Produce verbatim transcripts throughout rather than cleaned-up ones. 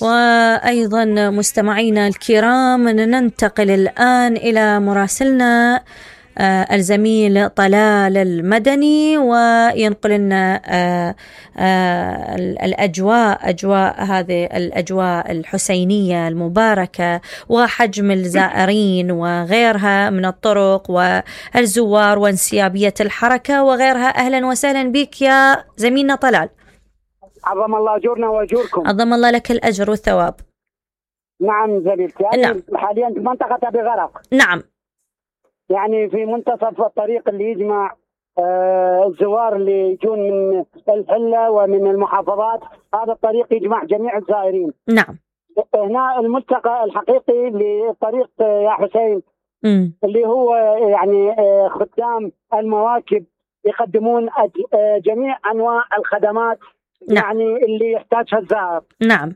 وأيضا مستمعينا الكرام ننتقل الآن إلى مراسلنا الزميل طلال المدني، وينقل لنا الأجواء أجواء هذه الأجواء الحسينية المباركة وحجم الزائرين وغيرها من الطرق والزوار وانسيابية الحركة وغيرها. أهلا وسهلا بك يا زميلنا طلال. عظم الله أجورنا وأجوركم. عظم الله لك الأجر والثواب. نعم زميلتي، يعني نعم. حاليا في منطقة أبي غرق. نعم. يعني في منتصف الطريق اللي يجمع آه الزوار اللي يجون من الحلة ومن المحافظات، هذا الطريق يجمع جميع الزائرين. نعم. هنا الملتقى الحقيقي للطريق يا حسين، م. اللي هو يعني آه خدام المواكب يقدمون آه جميع أنواع الخدمات. نعم. يعني اللي يحتاجها الزائر. نعم.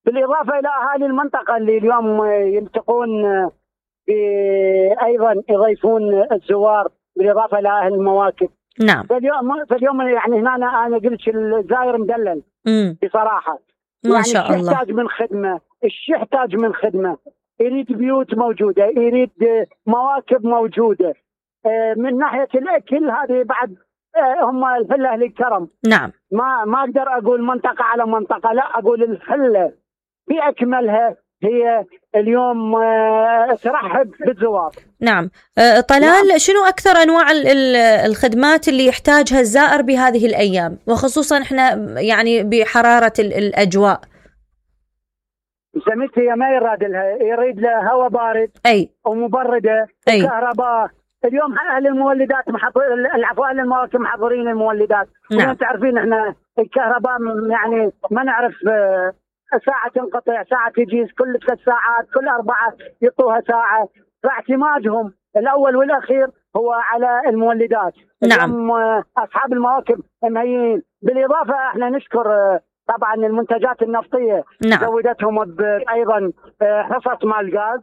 بالإضافة إلى أهالي المنطقة اللي اليوم يلتقون أيضا يضيفون الزوار بالإضافة إلى أهل المواكب. نعم. فاليوم فاليوم يعني هنا أنا, أنا قلت الزائر مدلل مم. بصراحة. ما يعني شاء الله. يحتاج من خدمة، الشيء يحتاج من خدمة، يريد بيوت موجودة، يريد مواكب موجودة. من ناحية الأكل هذه بعد هم الحلة أهل الكرم. نعم. ما ما أقدر أقول منطقة على منطقة، لا أقول الحلة بأكملها هي اليوم ترحب بالزوار. نعم. طلال، نعم. شنو أكثر أنواع الخدمات اللي يحتاجها الزائر بهذه الأيام، وخصوصا إحنا يعني بحرارة الأجواء؟ سميتي ما يراد لها، يريد لها هواء بارد أي ومبردة، أي كهرباء. اليوم أهل المولدات محضر، العفو أهل المواكب محضرين المولدات. نعم. تعرفين إحنا الكهرباء يعني ما نعرف ساعة تنقطع، ساعة تجيز، كل ثلاث ساعات، كل أربعة يعطوها ساعة. فاعتمادهم الأول والأخير هو على المولدات. نعم. أصحاب المواكب مهيئين. بالإضافة احنا نشكر طبعا المنتجات النفطية. نعم. زودتهم أيضا حصص مال الغاز.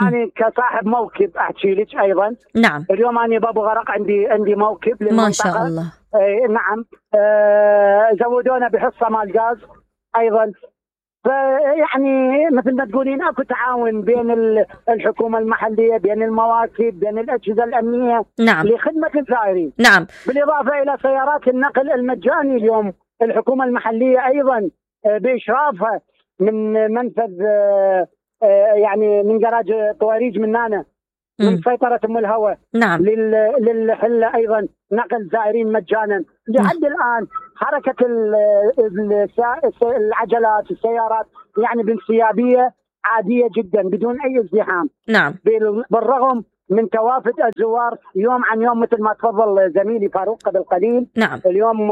أنا كصاحب موكب أحكي لك أيضا. نعم. اليوم أنا بابو غرق عندي عندي موكب للمنطقة. ما شاء الله. اه نعم. اه زودونا بحصة مال الغاز أيضا. فيعني مثل ما تقولين اكو تعاون بين الحكومه المحليه، بين المواكب، بين الاجهزه الامنيه. نعم. لخدمه الزائرين. نعم. بالاضافه الى سيارات النقل المجاني اليوم الحكومه المحليه ايضا باشرافها من منفذ يعني من جراج طواريج من نانا من سيطره ام الهوى. نعم. للحله ايضا نقل زائرين مجانا لحد نعم. الان حركه العجلات السيارات يعني بانسيابيه عاديه جدا بدون اي ازدحام. نعم. بالرغم من توافد الزوار يوم عن يوم مثل ما تفضل زميلي فاروق قبل قليل. نعم. اليوم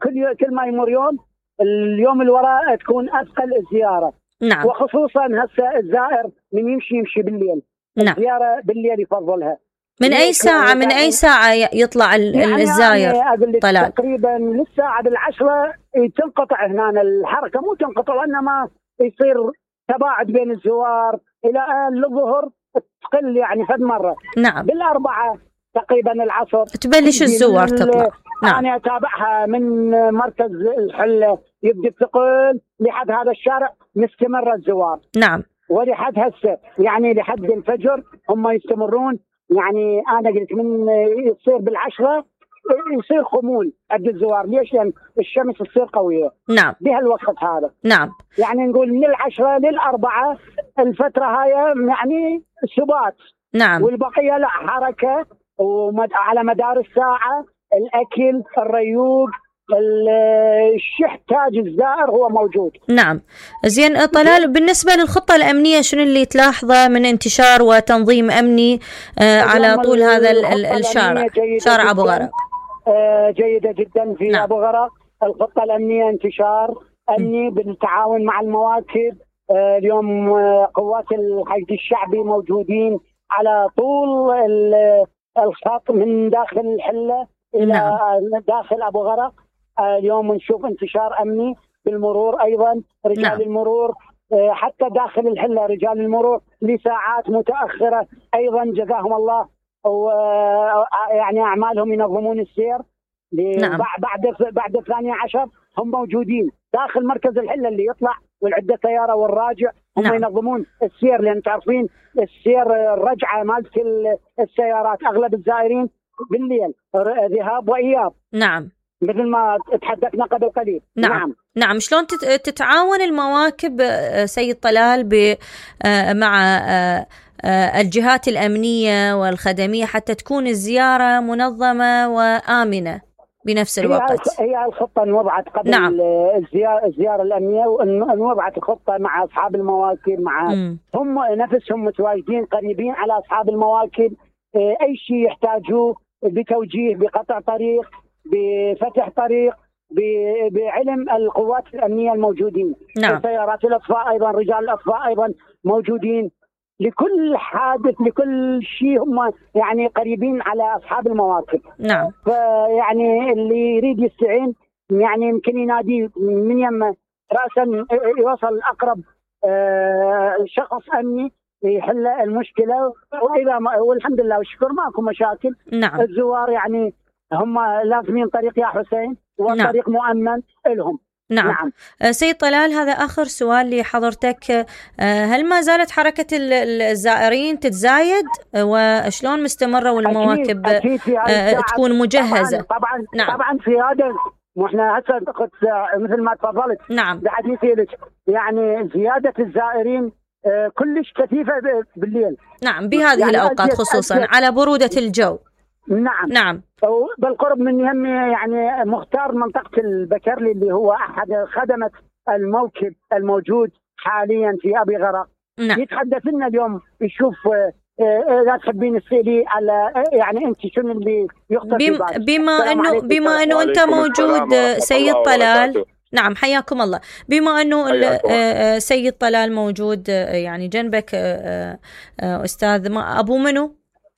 كل كل ما يمر يوم اليوم اللي وراء تكون اثقل الزياره. نعم. وخصوصا هسه الزائر من يمشي يمشي بالليل. نعم. الزياره بالليل يفضلها. من أي ساعة من أي ساعة يطلع يعني الزاير؟ يعني طلال تقريبا للساعة بالعشرة تنقطع هنا الحركة، مو تنقطع وإنما يصير تباعد بين الزوار إلى آن الظهر تقل يعني فد مرة. نعم. بالأربعة تقريبا العصر تبلش الزوار تطلع. نعم. أنا أتابعها من مركز الحلة يبدأ الثقل لحد هذا الشارع مستمر الزوار. نعم. ولحد هسه يعني لحد الفجر هم يستمرون. يعني أنا قلت من يصير بالعشرة يصير خمول عند الزوار. ليش؟ لأن الشمس تصير قوية. نعم. بهالوقت هذا. نعم. يعني نقول من العشرة للأربعة الفترة هاي يعني سبات. نعم. والبقية لا حركة وعلى مدار الساعة الأكل الريوق الشيء يحتاج الزائر هو موجود. نعم. زين طلال، بالنسبة للخطة الأمنية شنو اللي تلاحظه من انتشار وتنظيم أمني آه على طول هذا الشارع شارع أبو غرق؟ آه جيدة جدا في نعم. أبو غرق. الخطة الأمنية انتشار أمني بالتعاون مع المواكب. آه اليوم آه قوات الحشد الشعبي موجودين على طول الخط من داخل الحلة إلى نعم. داخل أبو غرق. اليوم نشوف انتشار أمني بالمرور أيضا رجال نعم. المرور حتى داخل الحلة رجال المرور لساعات متأخرة أيضا جزاهم الله يعني أعمالهم ينظمون السير. نعم. بعد بعد الثانية عشر هم موجودين داخل مركز الحله اللي يطلع والعده سياره والراجع، هم نعم. ينظمون السير، لان تعرفين السير الرجعه مالت السيارات اغلب الزائرين بالليل ذهاب واياب. نعم. مثل ما تحدثنا قبل قليل. نعم. نعم. نعم. شلون تتعاون المواكب سيد طلال مع الجهات الأمنية والخدمية حتى تكون الزيارة منظمة وآمنة بنفس الوقت؟ هي الخطة انوضعت قبل نعم. الزيارة, الزيارة الأمنية، وانوضعت الخطة مع أصحاب المواكب، مع م. هم نفسهم متواجدين قريبين على أصحاب المواكب، أي شيء يحتاجوه بتوجيه، بقطع طريق، بفتح طريق، بعلم القوات الأمنية الموجودين. نعم. سيارات الأطفاء أيضا، رجال الأطفاء أيضا موجودين، لكل حادث لكل شيء هم يعني قريبين على أصحاب المواقف. نعم. فيعني اللي يريد يستعين يعني يمكن ينادي من يم رأسا يوصل أقرب شخص أمني يحل المشكلة، وإذا ما والحمد لله والشكر ماكو مشاكل. نعم. الزوار يعني هم لازمين طريق يا حسين، والطريق نعم. مؤمن لهم. نعم. نعم. سيد طلال، هذا آخر سؤال لحضرتك، هل ما زالت حركة الزائرين تتزايد، وشلون مستمرة والمواكب أكيد أكيد تكون مجهزة؟ طبعا طبعا, نعم. طبعا في هذا، واحنا هسه مثل ما تفضلت نعم بحديثي لك، يعني زيادة الزائرين كلش كثيفة بالليل. نعم، بهذه يعني الأوقات خصوصا أجيب. على برودة الجو. نعم نعم. بالقرب من يمي يعني مختار منطقة البكرلي اللي هو أحد خدمة الموكب الموجود حاليا في أبي غرق. نعم. يتحدث لنا اليوم يشوف لا تحبين تسألي على يعني أنت شنو اللي يخطر في بالك؟ بما أنه بما أنه أنت موجود سيد طلال. نعم، حياكم الله. بما أنه سيد طلال موجود يعني جنبك أستاذ أبو منو؟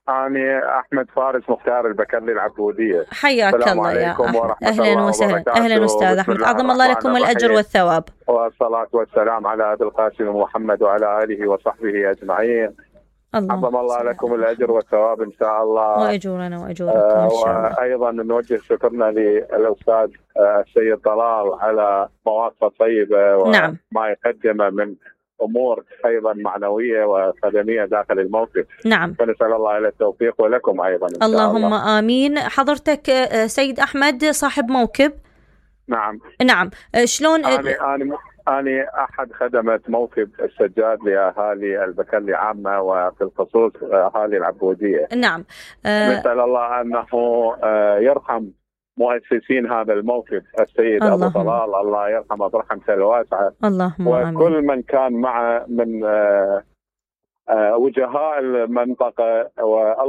أنا أحمد فارس مختار البكرلي العبودية. حياك الله يا أحمد. أهلا وسهلا. أهلا أستاذ أحمد، عظم الله لكم الأجر والثواب. والصلاة والسلام على أبي القاسم محمد وعلى آله وصحبه أجمعين. عظم الله لكم الأجر والثواب إن شاء الله، وأجورنا وأجوركم إن شاء الله. وأيضا نوجه شكرنا للأستاذ السيد طلال على مواقفه الطيبة وما نعم. يقدمه من أمور أيضا معنوية وخدمية داخل الموقف. نعم. فنسأل الله إلى التوفيق ولكم أيضا إن شاء اللهم الله. آمين. حضرتك سيد أحمد صاحب موكب؟ نعم. نعم. شلون؟ أنا أنا أنا أحد خدمة موكب السجاد لأهالي البكرلي عامة، وفي الخصوص أهالي العبودية. نعم. نسأل الله أنه يرحم مؤسسين هذا الموقف، السيد أبو طلال، الله يرحمه برحمته الواسعة، اللهم آمين. وكل من كان معه من وجهاء المنطقة، والله